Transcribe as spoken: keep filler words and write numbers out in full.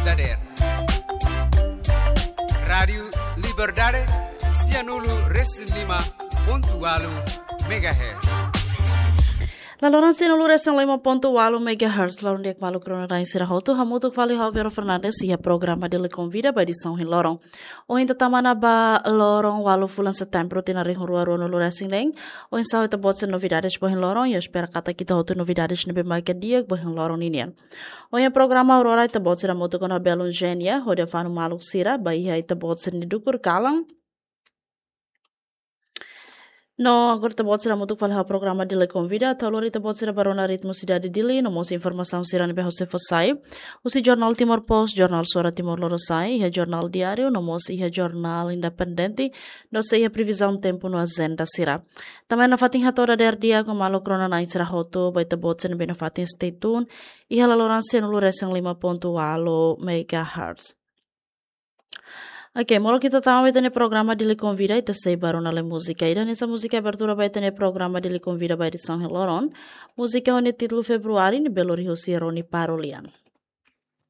dadeer. Rádiu Liberdade, sianulu resin lima pontu walu megahertz. Laloran sianulu resin lima pontu walu megahertz, loron di'ak maluk rona-na'in sira hotu, hamutuk fali ho Vero Fernandes iha programa Dili Konvida ba edisaun ohin loron. Ohin ita tama ona ba loron walu fulan Setembru tinan rihun rua ruanulu resin neen. Oinsá ho ita-boot sira novidades ba ohin loron, i espera katak ita hotu novidades ne'ebé maka di'ak ba ohin loron ninian. Ohin programa Aurora ita-boot sira hamutuk ona belun Genia, hodi fanu maluk sira, ba iha ita-boot sira-nia dukur kalan. No agora ita-boot sira hamutuk fali ho programa Dili Konvida, atu lori ita-boot sira ba rona ritmu sidade Dili, no mós informasaun sira ne'ebé husik fó sai. Husi Jornál Timor Post, Jornál Suara Timor Lorosa'e, iha Jornál Diáriu, no mós iha Jornál Independente, no sei iha previzaun tempu no ajenda sira. Tanba ne'e nafatin hato'o dadeer di'ak ho maluk rona-na'in sira hotu, ba ita-boot sira ne'ebé nafatin stay tune, iha laloran sianulu resin lima pontu walu megahertz. Oke, molok ita tama ba ita-nia programa Dili Konvida, ita sei ba rona lai múzika. Ida-ne'e hanesan múzika abertura ba ita-nia programa Dili Konvida ba edisaun ohin loron. Múzika ho nia títulu Februari, ne'ebé lori husi Roni Parolian.